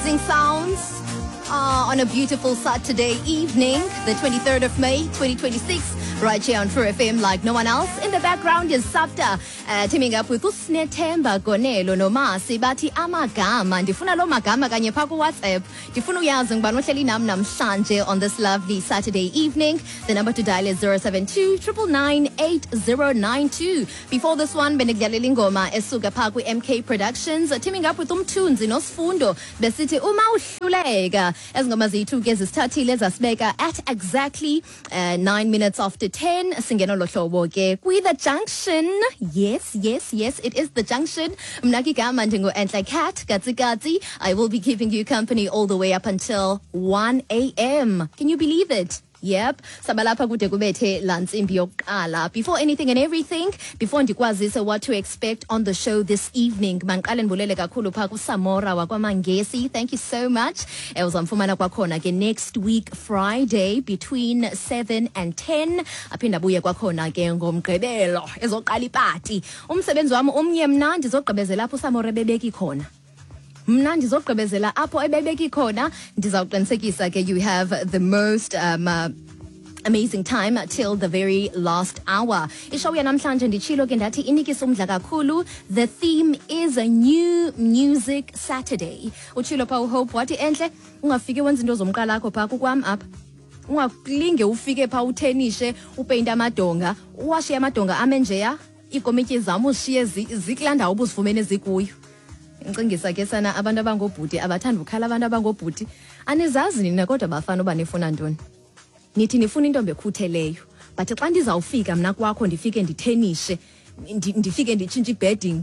Amazing sounds on a beautiful Saturday evening, the 23rd of May, 2026, right here on True FM like no one else. In the background is Safta teaming up with uSnethemba Gonelo noMasi bathi amagama. Ndifuna lo magama kanye pha ku-WhatsApp. Ndifuna uyazi ngubani ohleli nam namhlanje on this lovely Saturday evening. The number to dial is 072 999 8092. Before this one, bendikudlalela ingoma esuka pha kwi-MK Productions, teaming up with uMthunzi noSifundo, besithi uma uhluleka. Ezi ngoma ziyi-two ke zisithathile zasibeka at exactly 9 minutes after 10. Singena lo hlobo ke kwi-The Junction. Yes, it is The Junction. Mna ke igama ndingu-Enhle Cat Katsikatsi. I will be keeping you company all the way up until 1 a.m. Can you believe it? Yep, sabalapha kude kubethe laa ntsimbi yokuqala. Before anything and everything, before ndikwazise what to expect on the show this evening, mandiqale ndibulele kakhulu phaa kuSamora wakwaMangesi. Thank you so much. Uzamfumana kwakhona ke next week Friday between 7 and 10. Aphinde abuye kwakhona ke ngoMgqibelo ezoqala ipati. Umsebenzi wam umnye mna, ndizogqibezela apho uSamora ebebeki khona. Mna ndizogqibezela apho ebebeki khona. Ndizawuqinisekisa ke you have the most amazing time till the very last hour. Ishow yanamhlanje, nditshilo ke ndathi inikisa umdla kakhulu. The theme is a New Music Saturday. Utshilo pha uHope wathi, "Enhle, ungafiki wenza into zomqala akho phaa kukwam apha. Ungakulinge ufike phaa uthenishe, upeyinte amadonga, uwashiye amadonga ame njeya, iikomityi zam uzishiye zikulaa ndawo ubuzifumene zikuyo." Ngicingisa ke sana abantu abangobhuti abathanda ukhala. Abantu abangobhuti, anizazi nina kodwa bafana uba nifuna ntoni. Nithi nifuna intombi ekhutheleyo, but xa ndizawufika mna kwakho, ndifike ndithenishe, ndifike nditshintshe ibedding,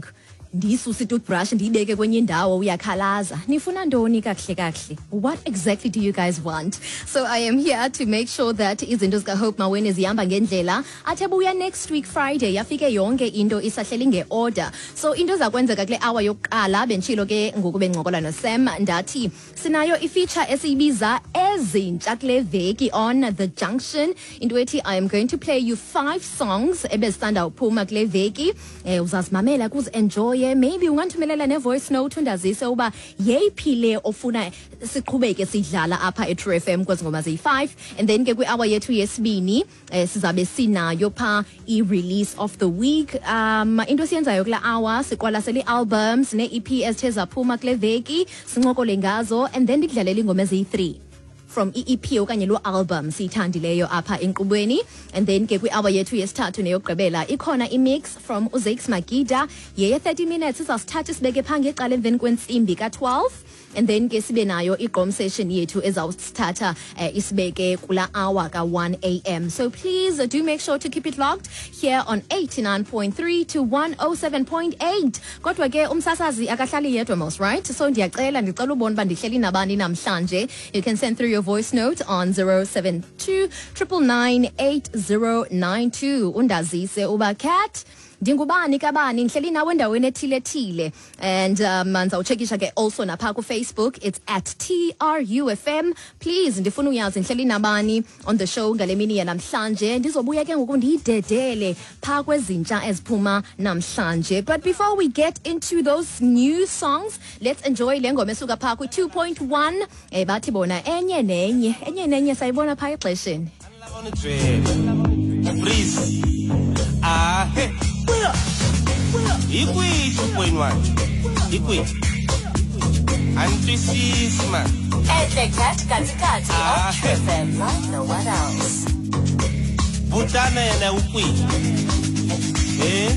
ndiyisuse itoothbrush, ndiyibeke kwenye indawo, uyakhalaza. Nifuna ntoni kakuhle kakuhle? What exactly do you guys want? So I am here to make sure that izinto zikaHope Maweni zihamba ngendlela. Athe buya next week Friday, yafike yonke into isahleli ngeorder. So into ezakwenzeka kule hour yokuqala, benditshilo ke ngoku bencokola noSam ndathi sinayo ifeature esiyibiza ezintsha kule veki on The Junction. Into ethi I am going to play you five songs ebezisanda uphuma kule veki. Uzazimamela, kuzi-enjoye. Maybe ungandithumelela ne-voice note undazise uba yeyiphi le ofuna siqhubeke sidlala apha e-True FM kwezi ngoma ziyi-5. And then ke kwi-hour yethu yesibini sizabe sinayo pha i-release of the week. Into esiyenzayo kula hour, siqwalasela ii-albums nee-EP ezithe zaphuma kule veki, sincokole ngazo, and then ndikudlalela iingoma eziyi-3 from i-EP okanye loo album siyithandileyo apha enkqubweni. And then ke kwi-hour yethu yesithathu neyokugqibela ikhona imix from uZakes Magida yeye 30 minutes, izawusithatha isibeke phaa ngecala emveni kwentsimbi ka-12. And then ke sibe nayo igqom session yethu ezawusithatha isibeke kula hour ka-1 a.m. So please do make sure to keep it locked here on 89.3 to 107.8. Kodwa ke umsasazi akahlali yedwa mos, right? So ndiyacela, ndicela ubona uba ndihleli nabani namhlanje. You can send through your voice note on 072 999 8092, undazise uba, "Cat, ndingubani kabani, ndihleli nawe endaweni ethile ethile." And ndizawutshekisha ke also napha kuFacebook, it's at TRUFM. Please, ndifuna uyazi ndihleli nabani on the show ngale mini yanamhlanje. Ndizobuya ke ngoku ndiyidedele phaa kwezintsha eziphuma namhlanje. But before we get into those new songs, let's enjoy le ngoma esuka phaa kwi-2.1. Bathi bona enye nenye, enye nenye sayibona phaa exesheni. On the trail. Freeze. Ah, hey. Hi kwihi 2.1? Hi kwihi? A ni twisisi man. Enhle Cat Katikati Ah. on True FM like no one else. Butana yena u kwihi? Eh?